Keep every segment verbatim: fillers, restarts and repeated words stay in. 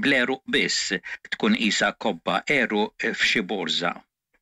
bl-għeruq biss, tkun qisha kobba għeruq f'xi borża.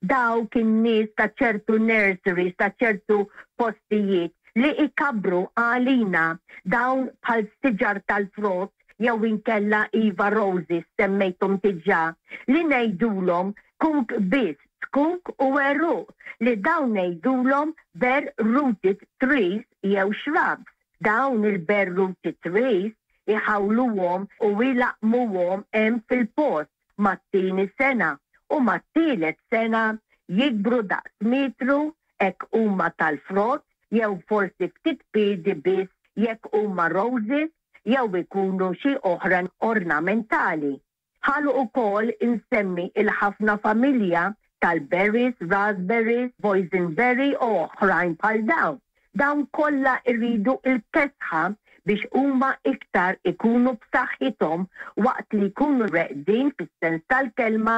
Dawk in-nies ta' ċertu nurseries, ta' ċertu postijiet li ikabbru għalina dawn bħal siġar tal-frott jew inkella, iva, roses semmejthom diġà, li ngħidulhom zkuk biss, zkuk u għeruq, li dawn ngħidulhom bare rooted trees jew shrubs. Dawn il-bare rooted trees iħawluhom u ilaqmuhom hemm fil-post mat-tieni sena u mat-tielet sena jikbru daqs metru jekk huma tal-frott jew forsi ftit piedi biss jekk huma roses jew ikunu xi oħra ornamentali. Ħallu ukoll insemmi il-ħafna familja tal-berries, raspberries, boysenberry u oħrajn bħal dawn. Dawn kollha irridu il-kesħa biex huma iktar ikunu b'saħħithom waqt li jkunu reqdin fis-sens tal-kelma,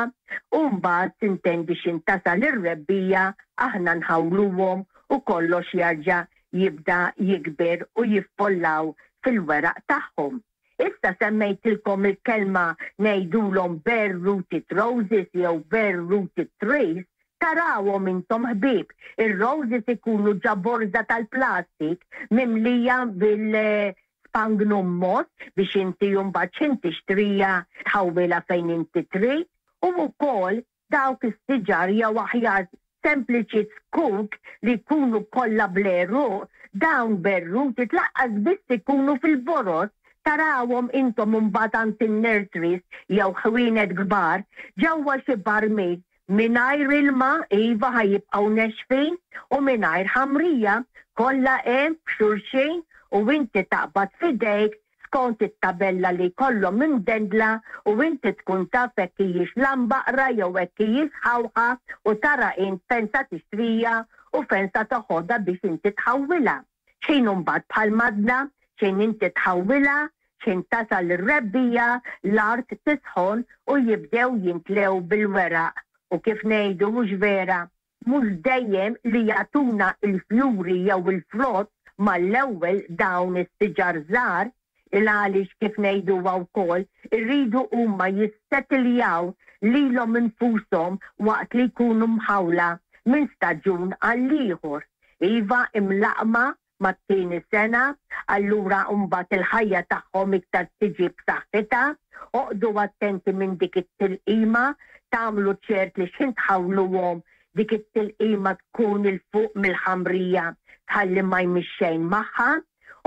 u mbagħad sintendi x'ħin tasal ir-rebbiegħa aħna nħawluhom u kollox jarġa' jibda jikber u jiffollaw fil-weraq tagħhom. Issa semmejtilkom il-kelma ngħidulhom bare rooted roses jew bare rooted trees, tarawhom intom, ħbieb. Ir-roses ikunu ġo borża tal-plastik mimlija bil-sphagnum moss biex inti mbagħad x'ħin tixtrija tħawwilha fejn inti trid, u wkoll dawk is-siġar jew aħjar sempliċi zkuk li jkunu kollha bl-għeruq, dawn bare rooted lanqas biss ikunu fil-boroż, tarawhom intom mbagħad għand in-nurseries jew ħwienet kbar ġewwa xi barmil mingħajr ilma, iva, ħa jibqgħu nexfin, u mingħajr ħamrija, kollha hemm f'xulxin, u inti taqbad f'idejk skont it-tabella li kollhom imdendla u inti tkun taf hekk hijiex lambaqra jew hekk hijiex ħawħa u tara int fejn sa tixtrija u fejn sa toħodha biex inti tħawwilha. X'ħin mbagħad bħal madna, x'ħin inti tħawwilha, x'ħin tasal ir-rebbiegħa, l-art tisħon u jibdew jintlew bil-weraq. U kif ngħidu, mhux vera, mhux dejjem li jagħtuna il-fjuri jew il-frott mal-ewwel dawn is-siġar żgħar, il għaliex kif ngħidu wkoll irridu huma jissettiljaw lilhom infushom waqt li jkunu mħawla minn staġun għal ieħor. Iva, imlaqma mat-tieni sena, allura mbagħad il-ħajja tagħhom iktar tiġi b'saħħitha. Oqogħdu attenti minn dik it-tilqima, tagħmlu ċert li x'ħin tħawluhom dik it-tilqima tkun 'il fuq mill-ħamrija tħalli ma jmiss xejn magħha.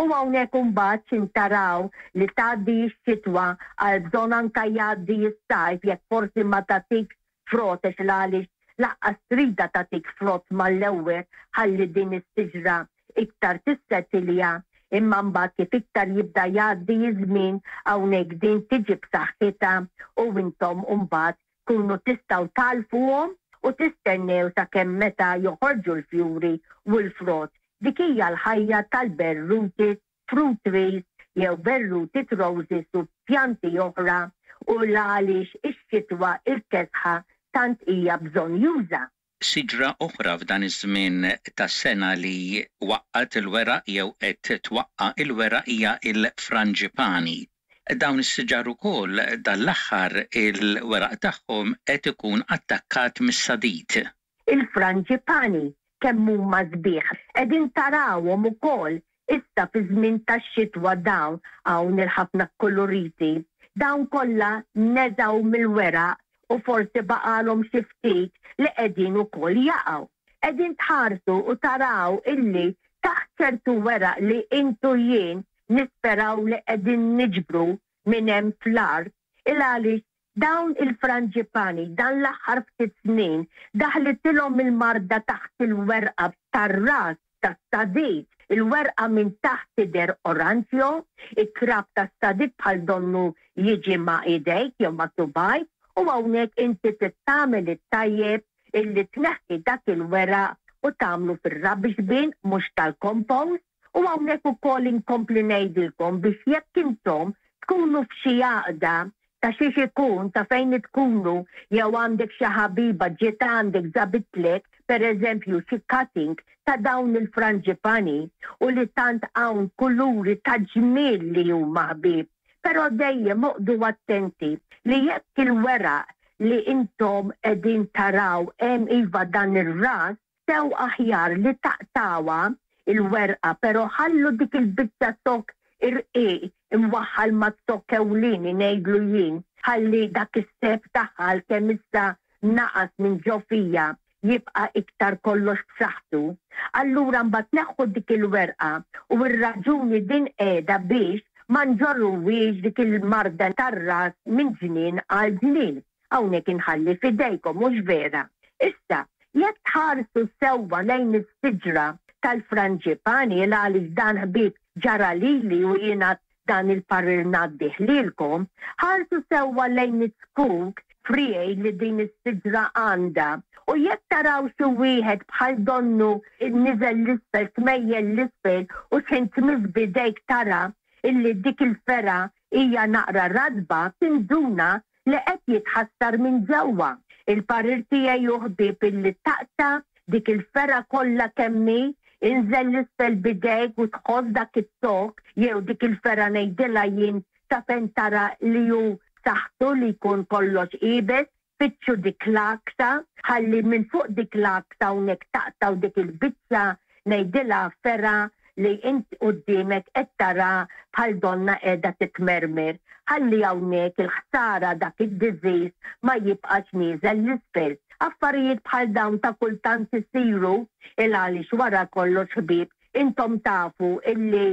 U hawnhekk imbagħad x'ħin taraw li tgħaddi x-xitwa, għal bżonn anka jgħaddi s-sajf jekk forsi ma tagħtik frott, għaliex lanqas tridha tagħtik frott mal-ewwel, ħalli din is-siġra iktar tissettilja, imma mbagħad kif iktar jibda jgħaddi iż-żmien hawnhekk din tiġi b'saħħitha u intom mbagħad kunu tistgħu tagħlfuhom u tistennew sakemm meta joħorġu l-fjuri u l-frott. Dik hija l-ħajja tal-bare rooted fruit trees jew bare rooted roses u pjanti oħra u l-għaliex ix-xitwa il-kesħa tant hija bżonnjuża. Siġra oħra f'dan iż-żmien tas-sena li waqqgħet il-weraq jew qed twaqqa' il-weraq hija il-frangipani. Dawn is-siġar ukoll dal-aħħar il-weraq tagħhom qed ikun attakkat mis-sadid. Il-frangipani kemm huma sbieħ. Qegħdin tarawhom ukoll issa fi żmien tax-xitwa dawn hawn il-ħafna koloriti. Dawn kollha neżgħu mill-weraq u forsi baqalhom xi ftit li qegħdin ukoll jaqgħu. Qegħdin tħarsu u taraw illi taħt ċertu weraq li intu jien nisperaw li qegħdin niġbru minn hemm fl-art, il għaliex dawn il-frangipani dan l-aħħar ftit snin daħlitilhom il-marda taħt il-werqa tar-ras tas-sadid. Il-werqa minn taħt tidher oranġjo, it-trab tas-sadid bħal donnu jiġi ma' idejk jew ma' subgħajk, u hawnhekk inti tagħmel it-tajjeb illi tneħħi dak il-weraq u tagħmlu fir-rubbish bin mhux tal-compost. U hawnhekk ukoll inkompli ngħidilkom biex jekk intom tkunu f'xi għaqda ta' xiex ikun, ta' fejn tkunu, jew għandek xi ħabiba ġiet għandek ġabitlek per eżempju xi cutting ta' dawn il-frangipani u li tant hawn kuluri ta' ġmiel li huma, ħbieb. Però dejjem oqogħdu attenti li jekk il-weraq li intom qegħdin taraw hemm iva dan ir-rust, sew aħjar li taqtgħuha il-werqa, però ħallu dik il-biċċa zokk irqiq imwaħħal maz-zokk ewlieni ngħidlu jien, ħalli dak is-sap tagħha kemm issa naqas minn ġo fiha jibqa' iktar kollox b'saħħtu. Allura mbagħad neħħu dik il-werqa u r-raġuni din qiegħda biex ma nġorruwiex dik il-marda tar-rust minn ġnien għal ġnien. Hawnhekk inħalli f'idejkom mhux vera. Issa, jekk tħarsu sewwa lejn is-siġra tal-franġipani għaliex dan ħbieb ġara lili u jiena dan il-parir ngħaddih lilkom, ħarsu sewwa lejn iz-zkuk friegħi li din is-siġra għandha. U jekk taraw xi wieħed bħal donnu niżel 'l isfel, tmejjel 'l isfel u x'ħin tmiss b'idejk tara illi dik il-fergħa hija naqra ratba, tinduna li qed jitħassar minn ġewwa. Il-parir tiegħi hu ħbieb illi taqta' dik il-fergħa kollha kemm hi, inżel 'l isfel b'idejk u tħoss dak iz-zokk jew dik il-fergħa ngħidilha jien sa fejn tara li hu saħħtu li jkun kollox iebes, fittxu dik l-għaksa, ħalli minn fuq dik l-għaksa hawnhekk taqtgħu dik il-biċċa ngħidilha fergħa li int quddiemek qed tara bħal donna qiegħda titmermer. Ħalli hawnhekk il-ħsara dak id-disease ma jibqax nieżel 'l isfel. Affarijiet bħal dawn ta' kultant isiru il għaliex wara kollox ħbieb intom tafu illi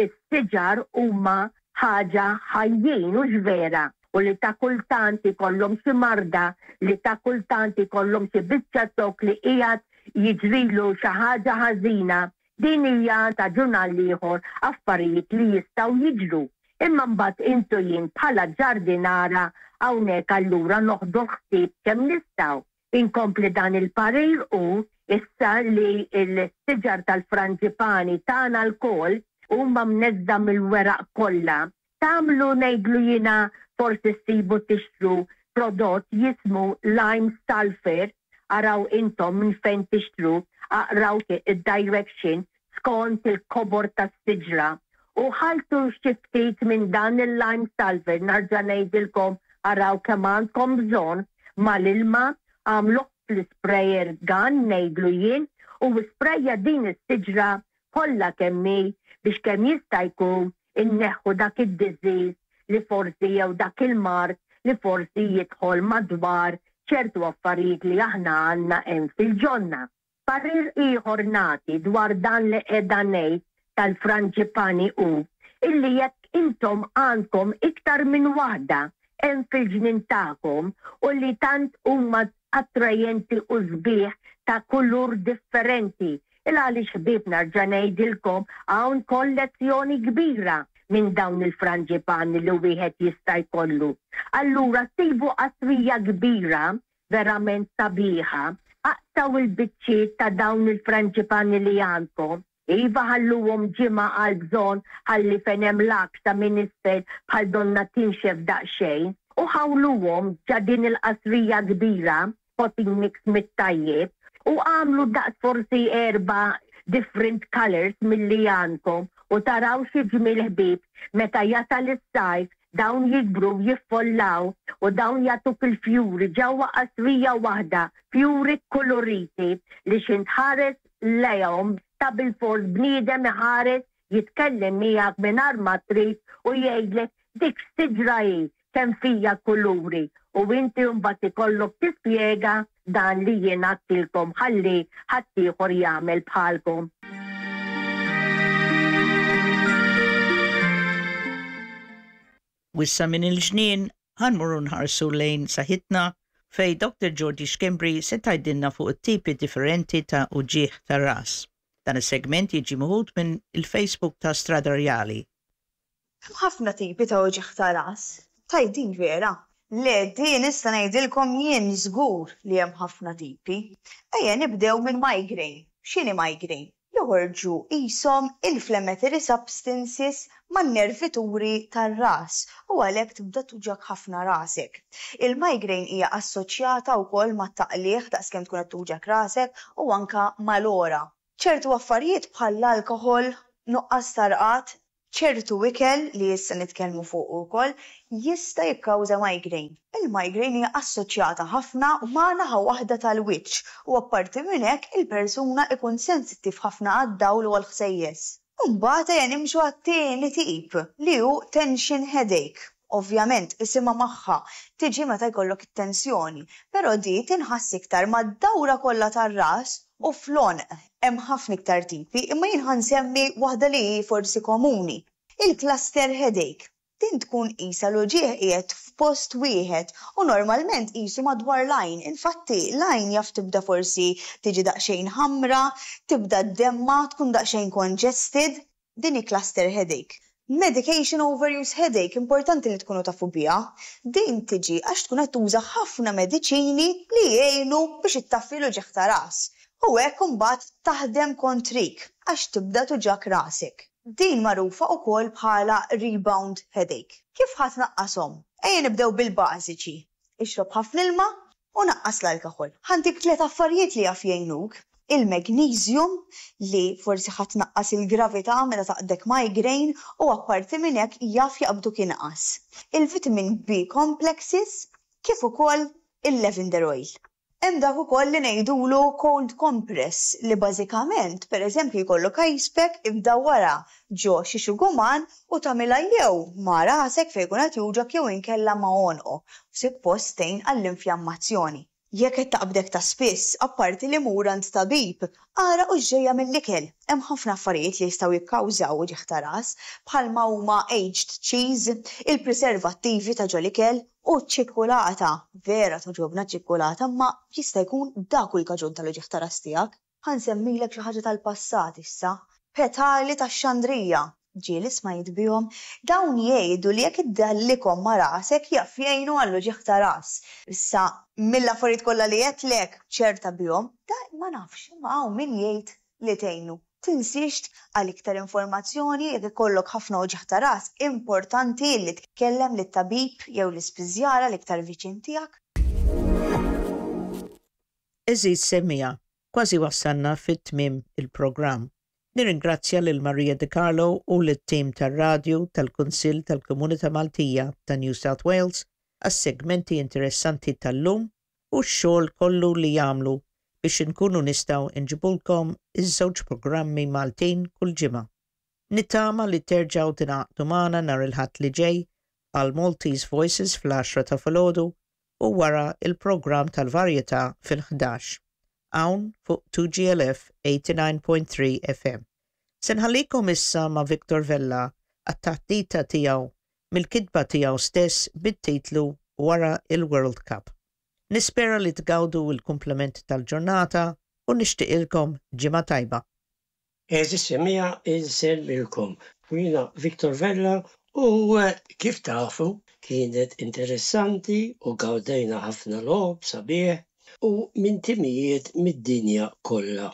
s-siġar huma ħaġa ħajjin u vera u li ta' kultant ikollhom xi marda, li ta' kultant ikollhom xi biċċa zokk li qiegħed jiġrilu xi ħaġa ħażina. Din hija ta' ġurnal ieħor affarijiet li jistgħu jiġru. Imma mbagħad intu jien bħala ġardinara hawnhekk allura noħdu ħsieb kemm nistgħu. Inkompli dan il-parir u issa li l-siġar tal-franġipani tagħna lkoll huma mneżża' mill-weraq kollha. Tagħmlu ngħidlu jiena forsi ssibu tixtru prodott jismu lime sulfur, araw intom minn fejn tixtru, aqraw id-direction skont il-kobor tas-siġra. U ħaltu xi ftit minn dan il-lime sulfur, nerġa' ngħidilkom araw kemm għandkom bżonn mal-ilma, għamluh fl-sprayer gun ngħidlu jien u sprejja din is-siġra kollha kemm hi biex kemm jista' jkun inneħħu dak id-disease li forsi jew dak il-mard li forsi jidħol madwar ċertu affarijiet li aħna għandna hemm fil-ġonna. Parir ieħor nagħti dwar dan li qiegħda ngħid tal-franġipani hu illi jekk intom għandkom iktar minn waħda hemm fil-ġnien tagħkom u li tant huma attrajenti u sbieħ ta' kulur differenti. Il għaliex ħbieb nerġa' ngħidilkom hawn kollezzjoni kbira minn dawn il-franġipani li wieħed jista' jkollu. Allura sibu qasrija kbira verament sabiħa, aqtgħu il-biċċiet ta' dawn il-franġipani li għandkom. Iva ħalluhom ġimgħa għal bżonn ħalli fejn hemm l-għaksa minn isfel bħal donna tinxef daqsxejn u ħawluhom ġo din il-qasrija kbira, potting mix mit-tajjeb, u għamlu daqs forsi erba' different colors milli għandkom u taraw xi ġmiel ħbieb meta jasal is-sajf dawn jikbru jiffollaw u dawn jagħtuk il-fjuri ġewwa qasrija waħda, fjuri koloriti li x'ħin tħares lejhom ta' bilfors bniedem iħares jitkellem miegħek mingħajr ma trid u jgħidlek dik siġra hi kemm fija kuluri u inti mbagħad ikollok tispjega dan li jien għedtilkom ħalli ħaddieħor jagħmel bħalkom. U issa minn il-ġnien ħa mmorru nħarsu lejn saħħitna fejn Doctor Georgie Schembri se tgħidilna fuq it-tipi differenti ta' uġigħ ta' ras. Dan is-segment jiġi meħud minn il-Facebook ta' Strada Rjali. Hemm ħafna tipi ta' uġigħ ta' ras. Tgħid din vera? Le, din issa ngħidilkom jien żgur li hemm ħafna tipi. Ejja nibdew minn migraine. X'inhi migraine? Joħorġu qishom inflammatory substances man-nervituri tar-ras u għalhekk tibda tuġgħek ħafna rasek. Il-migraine hija assoċjata wkoll mat-taqligħ daqskemm tkun qed tuġgħek rasek u anka mal-għora. Ċertu affarijiet bħall-alkoħol, nuqqas ta' rqad, Ċertu ikel li issa nitkellmu fuq ukoll jista' jikkawża migraine. Il-migraine hija assoċjata ħafna ma' naħa waħda tal-wiċċ u apparti minn hekk il-persuna ikun sensittiv ħafna għad-dawl u għall-ħsejjes. Mbagħad ejja nimxu għat-tieni tip li hu tension headache. Ovvjament, isimha magħha tiġi meta jkollok it-tensjoni, però di tinħass iktar mad-dawra kollha tar-ras u fl-għonq. Hemm ħafna iktar tipi, imma jien ħa nsemmi waħda li hi forsi komuni. Il-cluster headache. Din tkun qisha l-uġigħ qiegħed f'post wieħed u normalment qisu madwar l-għajn. Infatti l-għajn jaf tibda forsi tiġi daqsxejn ħamra, tibda ddemma, tkun daqsxejn congested. Din hi cluster headache. Medication overuse headache, importanti li tkunu tafu biha. Din tiġi għax tkun qed tuża ħafna mediċini li jgħinu biex ittaffi l-uġigħ ta' ras. U hekk imbagħad taħdem kontrik għax tibda tuġgħek rasek. Din magħrufa wkoll bħala rebound headache. Kif ħa tnaqqashom? Ejja nibdew bil-bażiċi. Ixrob ħafna ilma u naqqas l-alkoħol. Ħa ntik tliet affarijiet li jaf jgħinuk. Il-magnesium li forsi ħa tnaqqas il-gravità meta taqbdek migraine u apparti minn hekk jaf jaqbduk inqas. Il-vitamin B complexes kif ukoll il-lavender oil. Hemm dak ukoll li ngħidulu cold compress li bażikament pereżempju jkollok ice pack imdawwara ġo xi xuguman u tagħmilha jew ma' rasek fejn jkun qed juġgħek jew inkella ma' għonqok. Suppost tgħin għall-infjammazzjoni. Jekk qed taqbdek ta' spiss, apparti li mur għand tabib, ara hux ġejja mill-ikel. Hemm ħafna affarijiet li jistgħu jikkawżaw uġigħ ta' ras, bħalma huma aged cheese, il-preservattivi ta' ġol-ikel u ċ-ċikkulata. Vera togħġobna ċ-ċikkulata, imma jista' jkun dak hu l-kaġun tal-uġigħ ta' ras tiegħek. Ħa nsemmilek xi ħaġa tal-passat issa. Petali tax-xandrija. Ġieli smajt bihom? Dawn jgħidu li jekk iddallikhom ma' rasek jaf jgħinu għall-uġigħ ta' ras. Issa mill-affarijiet kollha li għedtlek ċerta bihom, da ma nafx, imma hawn min jgħid li tgħinu. Tinsiex għal iktar informazzjoni jekk ikollok ħafna uġigħ ta' ras, importanti li tkellem lit-tabib jew l-ispiżjara l-iktar viċin tiegħek. Għeżież semmiegħa, kważi wasalna fit-tmiem il-programm. Nirringrazzja lil Maria De Carlo u lit-tim tar-radju tal-Kunsill tal-Komunità Maltija ta' New South Wales għas-segmenti interessanti tal-lum u x-xogħol kollu li jagħmlu biex inkunu nistgħu nġibulkom iż-żewġ programmi Maltin kull ġimgħa. Nittama li terġgħu tingħaqdu magħna nhar il-Ħadd li ġej għal Maltese Voices fl-għaxra ta' filgħodu u wara il-programm tal-varjetà fil-ħdax. Hawn fuq two G L F eighty-nine point three F M. Se nħallikom issa ma' Victor Vella għat-taħdita tiegħu mill-kitba tiegħu stess bit-titlu Wara il-World Cup. Nispera li tgawdu il-kumplament tal-ġurnata u nixtieqilkom ġimgħa tajba. Għeżież semmiegħa, insellmilkom. Jiena Victor Vella u eh, kif tafu kienet interessanti u gawdejna ħafna logħob sabiħ u minn timijiet mid-dinja kollha.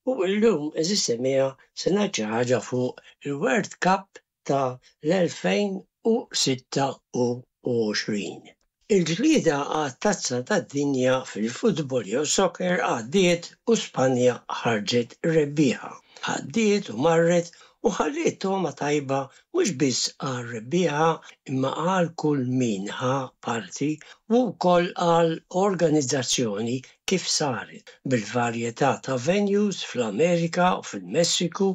U llum, għeżież semmiegħa, se ngħid xi ħaġa fuq il-World Cup ta' l-elfejn u sitta u għoxrin. Il-ġlieda għat-tazza tad-dinja fil-futbol jew soccer għaddiet u Spanja ħarġet rebbieħa. Għaddiet u marret u ħalliet togħma tajba mhux biss għal rebbieħa imma għal kull min ħa parti u wkoll għal organizzazzjoni kif saret bil-varjetà ta' venues fl-Amerika u fil-Messiku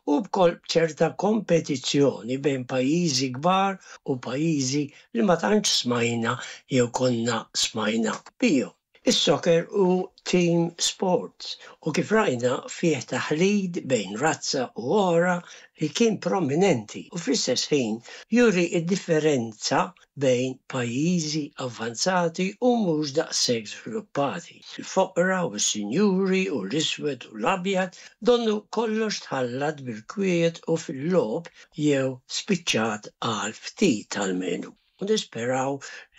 u b'kol ċerta kompetizzjoni bejn pajjiżi kbar u pajjiżi li ma tantx smajna jew konna smajna bihom. Is-soccer hu team sports u kif rajna fih taħlid bejn razza u oħra li kien prominenti u fl-istess ħin juri id-differenza bejn pajjiżi avvanzati u mhux daqshekk żviluppati. Il-foqra u s-sinjuri u l-iswed u l-abjad, donnu kollox tħallat bil-kwiet u fil-logħob jew spiċċat għal ftit almenu. U nisperaw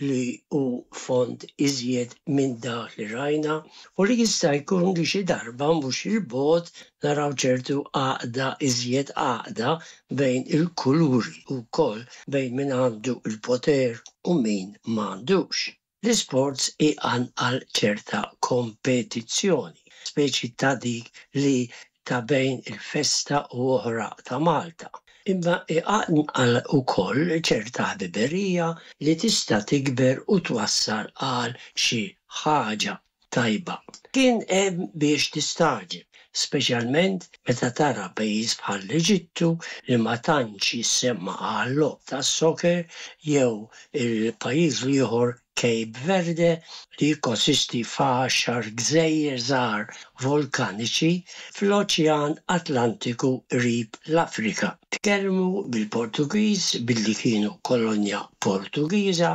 li hu fond iżjed minn dak li rajna u li jista' jkun li xi darba mhux il-bogħod naraw ċertu għaqda, iżjed għaqda bejn il-kuluri u wkoll bejn min għandu il-poter u min m'għandux. L-isports iqanqal ċerta kompetizzjoni, speċi ta' dik li ta' bejn il-festa u oħra ta' Malta. Imma iqanqal ukoll ċerta ħbiberija li tista' tikber u twassal għal xi ħaġa tajba. Kien hemm biex tistagħġeb, speċjalment meta tara pajjiż bħal l-Eġittu li ma tantx jissemma għal-logħob tas-soccer jew il-pajjiż l-ieħor Cape Verde li jikkonsisti f'għaxar gżejjer żgħar volkaniċi fl-Oċean Atlantiku qrib l-Afrika. Tkellmu bil-Portugiż billi kienu kolonja Portugiża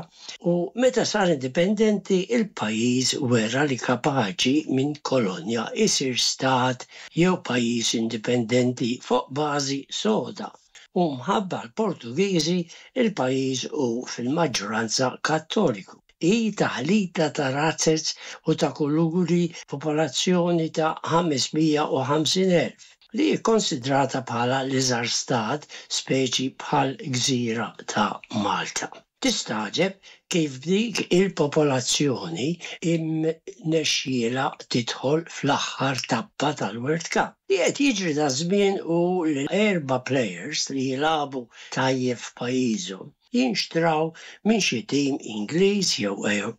u meta sar indipendenti il-pajjiż wera li kapaċi minn kolonja isir stat jew pajjiż indipendenti fuq bażi soda. U mħabba l-Portugiżi il-pajjiż hu fil-maġġoranza Kattoliku. Hi taħlita ta' razzez u ta' kuluri, popolazzjoni ta' ħames mija u ħamsin elf, li hi konsidrata bħala l-iżgħar stat speċi bħal gżira ta' Malta. Tistagħġeb kif dik il-popolazzjoni imnexxiela tidħol fl-aħħar tappa tal-World Cup. Li qed jiġri da żmien hu li erba' players li jilagħbu tajjeb f'pajjiżhom jinxtraw minn xi tim Ingliż jew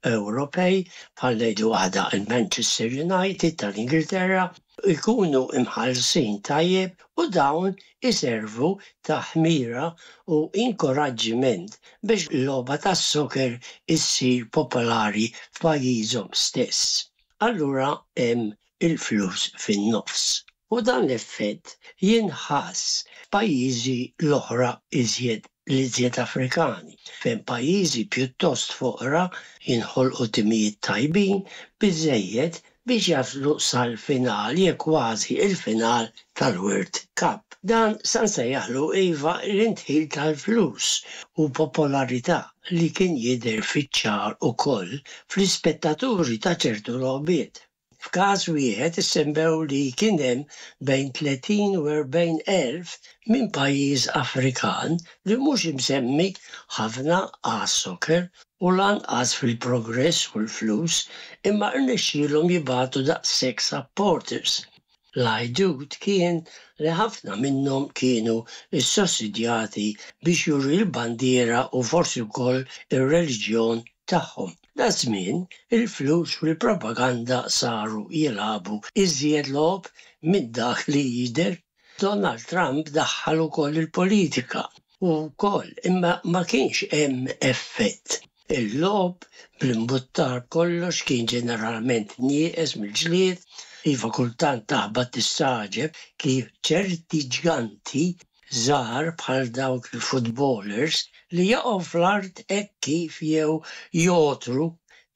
Ewropej bħal ngħidu waħda il-Manchester United tal-Ingilterra, ikunu imħallsin tajjeb u dawn iservu ta' ħmira u inkoraġġiment biex l-logħba tas-soccer issir popolari f'pajjiżhom stess. Allura hemm il-flus fin-nofs. U dan l-effett jinħass f'pajjiżi l-oħra iżjed l-iżjed Afrikani, fejn pajjiżi pjuttost foqra jinħolqu timijiet tajbin biżejjed biex jaslu sal-final jew kważi il-final tal-World Cup. Dan sa nsejjaħlu iva l-indħil tal-flus u popolarità li kien jidher fiċ-ċar ukoll fl-ispettaturi ta' ċertu logħbiet. F'każ wieħed issemmew li kien hemm bejn tletin u erbgħin elf minn pajjiż Afrikan li mhux imsemmi ħafna għas-soccer u lanqas fil-progress u l-flus, imma rnexxielhom jibagħtu daqshekk supporters. L-għajdut kien li ħafna minnhom kienu ssussidjati biex juru l-bandiera u forsi wkoll ir-reliġjon tagħhom. Da żmien il-flus u l-propaganda saru jilagħbu iżjed logħob minn dak li jidher. Donald Trump daħħal ukoll il-politika u wkoll imma ma kienx hemm effett. Il-logħob bl-imbuttar kollox kien ġeneralment nieqes mill-ġlied, iva kultant taħbat tistagħġeb kif ċerti ġganti żgħar bħal dawk il-footballers li jaqgħu fl-art hekk kif jew jotru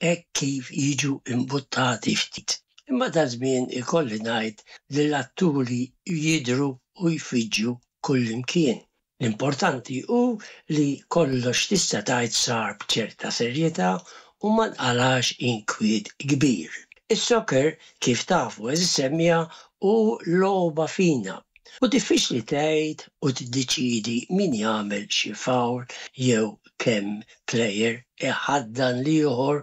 hekk kif jiġu imbuttati ftit. Imma da żmien ikolli ngħid li l-atturi jidhru u jfiġġu kullimkien. L-importanti hu li kollox tista' tgħid sar b'ċerta serjetà u ma nqalax inkwiet kbir. Is-soccer, kif tafu eżis semmija, hu logħba fina u diffiċli tgħid u tiddeċiedi min jagħmel xi foul jew kemm player iħaddan l-ieħor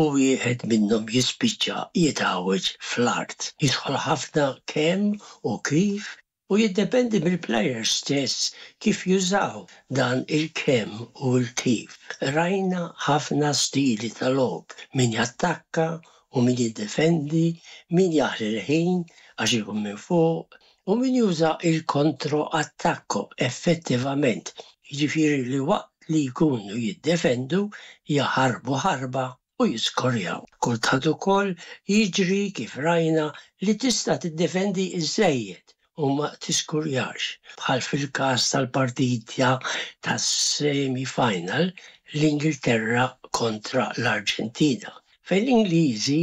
u wieħed minnhom jispiċċa jitgħawweġ fl-art. Jidħol ħafna kemm u kif u jiddependi mill-players stess kif jużaw dan il-kemm u l-kif. Rajna ħafna stili ta' logħob, min jattakka u min jiddefendi, min jaħli l-ħin għax ikun minn fuq u min juża il-kontro-attakko effettivament, jiġifieri li waqt li jkunu jiddefendu jaħarbu ħarba u jiskorjaw. Kultant ukoll jiġri kif rajna li tista' tiddefendi iżżejjed u ma tiskurjax, bħal fil-każ tal-partita tas-semi-final l-Ingilterra kontra l-Arġentina, fejn l-Ingliżi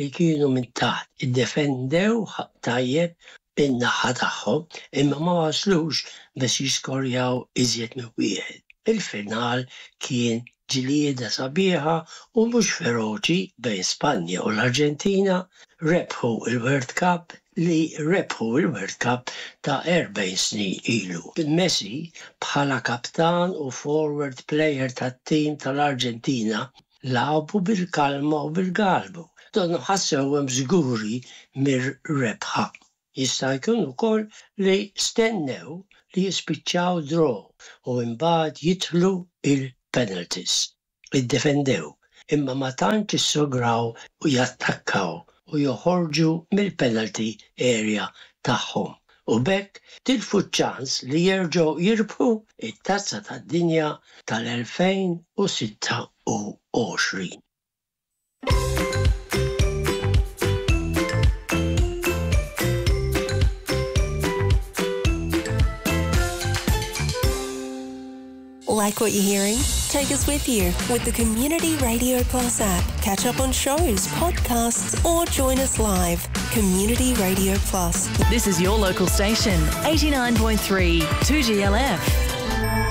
li kienu minn taħt iddefendew tajjeb in-naħa tagħhom imma ma waslux biex jiskorjaw iżjed minn wieħed. Il-final kien ġlieda sabiħa u mhux feroċi bejn Spanja u l-Arġentina, rebħu il-World Cup li rebħu il-World Cup ta' erbgħin snin ilu. Messi bħala kaptan u forward player tat-tim tal-Arġentina lagħbu bil-kalma u bil-galbu. Donnu ħassewhom żguri mir-rebħa. Jista' jkun ukoll li stennew li jispiċċaw draw u imbagħad jidħlu il-penalties. Iddefendew, imma ma tantx issograw u jattakkaw u joħorġu mill-penalty area tagħhom. U b'hekk tilfu ċans li jerġgħu jirbħu it-tazza tad-dinja tal-elfejn u sitta u għoxrin. Like what you're hearing? Take us with you with the Community Radio Plus app. Catch up on shows, podcasts, or join us live. Community Radio Plus. This is your local station, eighty-nine point three, two G L F.